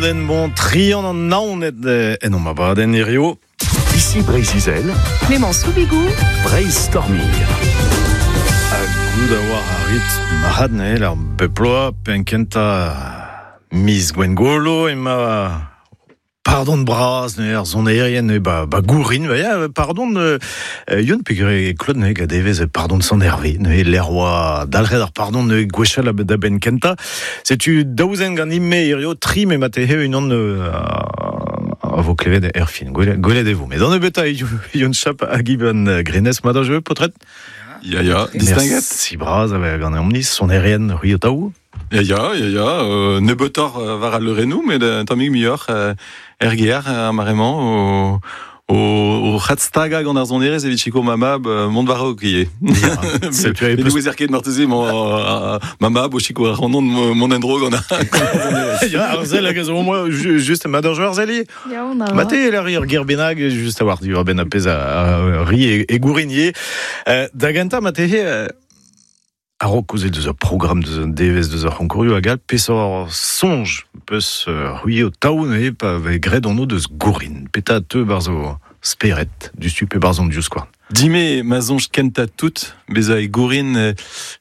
loden bon trian an naoned en om abadenn hirio. Ici Breizh-Izel. Clément Soubigou. Breizh Stormir. Ha goût a oar a rit marc'had ne ar bep bloaz penn kentañ miz Gwengolo ema pardon bras ne ar sonerien ne ba, ba gourin ba ya pardon Youn peogwir Claude ne gant devez pardon Sant Hervé ne l'erroa dalc'het ar pardon ne gwechall a da benn kentañ. Setu daouzen gant imme hirio tri me matehe unan a vo klevet er fin. Gwelet e vo. Met an nebeta Youn Chap hag Ivan Grenes mat a jeu, potret? Ya, ya, distinguet. Merci bras a gant omnis, sonerien ruio taou. Ya, ya, ya, ya, nebeutoc'h war al leurennoù, met un tammig muioc'h er gêr ar mare-mañ o, o, o c'hadstagañ gant ar sonerezh evit sikour ma mab mont war-raok ivez. Setu Mais ne ouezer ket marteze mañ ma mab o sikour ac'hanon mont en-dro gant ar sonerezh. Ya, ar sell hag a zo moi juste mat ur joueur Zeli. Ya, on a. Mate el ar ger bennak just a war diwar benn a pezh a ri e gourinier. Da gentañ mate a-raok kaozeal deus ur programm deus un devezh deus ur c'honkourioù hag all, peseurt soñj peus c'hwi ho taou neuze pa vez graet anv deus Gourin? Petra teu 'barzh ho spered diouzhtu pe 'barzh an divskouarn? Dime ma soñj kentañ tout bezañ e Gourin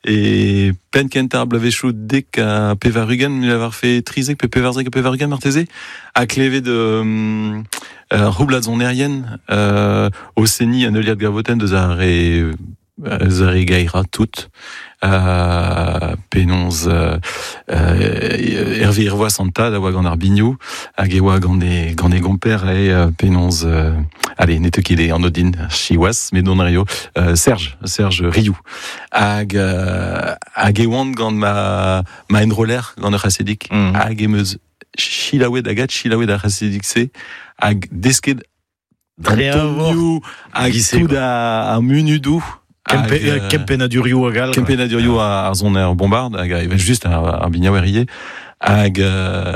e penn kentañ ar bloavezhioù 90 me lavarfe 13 pe 94 marteze ha klevet ur c'houblad sonerien o seniñ un heuliad gavotenn deus ar re eus ar re gaerañ tout. Penaos Hervé Irvoas an tad a oa gant ar biniou hag e oa gant e, gant e gomper e penaos allez ne teu ket e anv din siwazh met dont a rio Serge Serge Riou hag hag e oan gant ma ma enroller gant ur c'hasedig hag em eus selaouet hag adselaouet ar c'hasedig-se hag desket Dre an tonioù hag tout ar munudoù. Kempennadurioù hag all. Kempennadurioù ar soner bombard hag evel just ar biniaouer ivez. Hag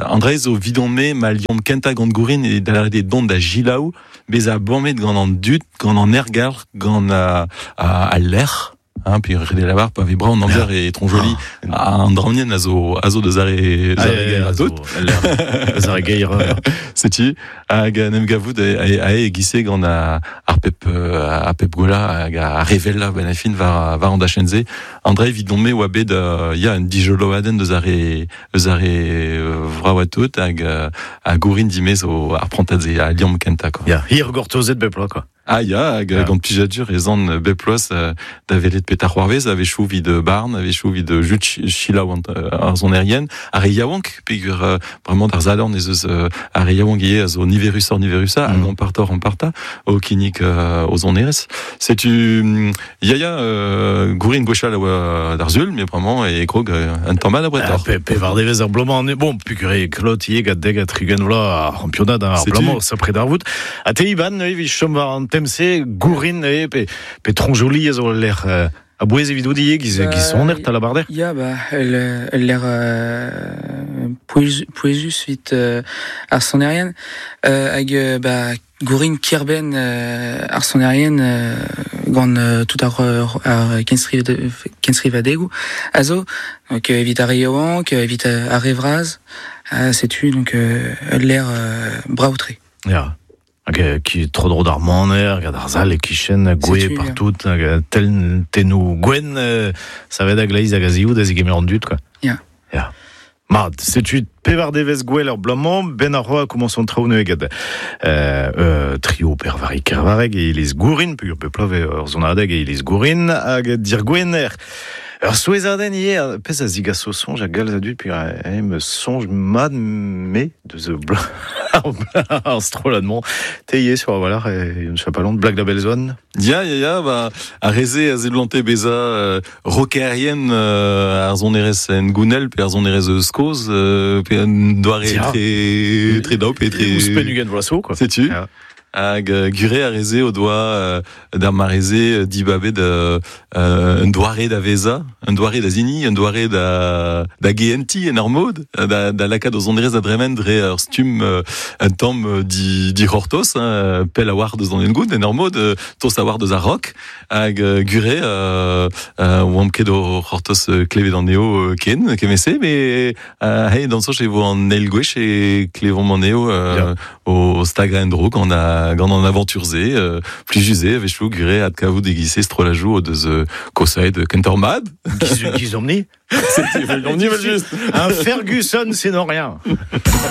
André zo vidon-me ma liamm kentañ gant Gourin e da lâret eo dont da Gilaou, bezañ bamet gant an dud, gant an aergelc'h, gant al lec'h. Hein, puis ret eo lavar pa vez brav an amzer e Tronjoli an draoñienn a zo a zo deus ar re a zo deus ar geir setu hag en em gavout a e e-giz-se gant ar pep ar pep gwellañ hag ar re wellañ benn ar fin war war an dachenn-se André evidon-me oa bet ya un dijoloadenn deus ar re eus ar re vravañ tout hag ha gourin dimez o ar prantad-se al liamm kentañ quoi. Ya, hir gortozet bep bloaz quoi. Ah ya, hag gant plijadur ez an bep bloaz da welet petra c'hoarvez, a-wechoù evit barn, a-wechoù evit just selaou ar sonerien, ar re yaouank, peogwir bremañ d'ar Sadorn ez eus ar re yaouank ivez a zo niverusoc'h-niverusañ hag ampartoc'h-ampartañ o kinnig o sonerezh. Setu Ya, ya, Gourin gwechall a oa d'ar Sul, met bremañ e krog un tamm mat abretoc'h. Pe, pevar devezh ar bloaz-mañ, bon, peogwir e klot ivez gant 70 vloaz ar c'hampionad ar bloaz-mañ, sapre darvoud. Ha te, Ivan, neuze, evit chom war an tem-se, Gourin, neuze, pe, pe Tronjoli a zo ul lec'h a-bouez evidout ivez, giz, giz soner, talabarder? Ya, ba, ul, ul lec'h pouezus evit ar sonerien, hag ba, Gourin kêr-benn ar sonerien gant tout ar ar kenstrivadegoù a zo donc evit ar re yaouank, evit ar re vras, setu donc ul lec'h brav-tre. Ya. Hag ki tro-dro d'ar maner, gant ar sal e-kichen, gouez partout, hag tennoù gwenn savet a-gleiz hag a-zehou da zegemer an dud, quoi. Ya. Ya. Mat, setu pevar devezh gwell ar bloaz-mañ, benn ar c'hoaz komañs an traoù neuze gant trio Pervari Kervareg e iliz Gourin, peogwir bep bloaz vez ur sonadeg e iliz Gourin, hag dirgwener. Ur souezhadenn ivez, pezh a zigaso soñj a galz a dud, peogwir em eus soñj mat me deus ar strollad-mañ. Te ivez sur a-walc'h, Youn Chapalon, Black Label Zone. Ya, ya, ya, ba, ar re-se a seblante bezañ rockerien ar sonerezh hengounel pe ar sonerezh eus kozh pe un doare tre tre daou pe tre Ouzhpenn 20 vloaz zo quoi. Setu. Ya. Hag gure a reze o doa d'ar mareze dibabet un doare da veza, un doare da zini, un doare da GNT en ar mod, da lakaat o zonerez da dremen dre ur stum un tamm di c'hortoz, hein, pell a war deus an engout, en ar mod, tos a war deus ar rock, hag gure oamp ket o c'hortoz klevet an eo ken, kemese, me hey, dans soch e vo an eil gwech e klevomp an eo o staga en dro gant gant an aventure-ze, plijuse, avechou gure ad kavout egise strolajou o deus kosaet kentormad. Giz omni. C'est omni, juste. Un Ferguson, c'est non rien.